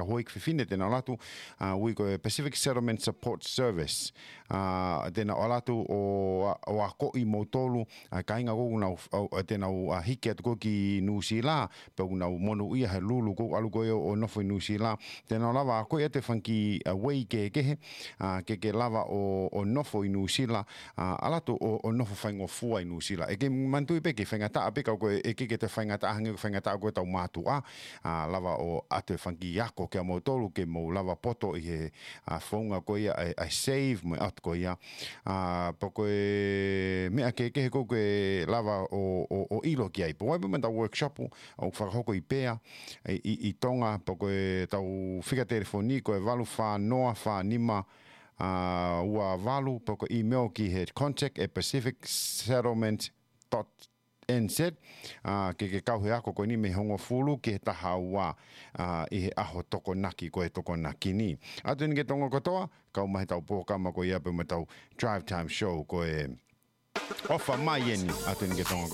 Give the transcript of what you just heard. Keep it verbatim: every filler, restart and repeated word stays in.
houʻeiki fefine te nau ʻalu atu, ʻa, ui ko e Pacific Settlement Support Service. ʻA, te nau ʻalu atu ʻo, ʻo akoʻi moutolu, ʻa, kāinga ʻoku nau, ʻo, ʻo te nau, ʻa, hiki atu ko ē ki Nuʻusila, pea ʻoku nau monūʻia he lulu ʻoku ʻalu ko ē ʻo, ʻo nofo ʻi Nuʻusila. Te nau lava akoʻi atu e fanga kiʻi, ʻa, ueʻi kehekehe, ʻa, ke ke lava ʻo, ʻo nofo ʻi Nuʻusila, ʻa, ʻalu atu ʻo, ʻo nofo faingofua ʻi Nuʻusila. ʻE ke manatuʻi pē ke faingataʻa pē ka ko e, ʻe ʻikai ke toe faingataʻa hangē ko e faingataʻa ko ē ʻetau mātuʻa, ʻa, lava ʻo ʻoatu e fanga kiʻi ako kia moutolu ke mou lava ʻo poto ʻi he, ʻa, founga ko ia ʻa e, ʻa e save mo e ʻoatu ko ia. ʻA, pea ko e meʻa kehekehe ʻoku ke lava ʻo, ʻo, ʻo ʻilo ki ai. Pea ʻoku ʻi ai pē ʻetau workshop ʻoku fakahoko ʻi Pea, ʻi, ʻi, ʻi Tonga, pea ko ʻetau fika telefoni ko e valu fā noa fā nima, ʻa, ua valu, pea ko e email ki he contact at pacific settlement dot N Z, ʻa, ke ke kau he ako ko eni mei he hongofulu ki he taha ua, ʻa, ʻi he ʻaho Tokonaki ko e Tokonaki ni. ʻOatu eni ki he Tonga kotoa, kau mai heʻetau polokalama ko ia pea mo ʻetau Drive Time Show ko e ʻOfa Mai eni, ʻoatu eni ki he Tonga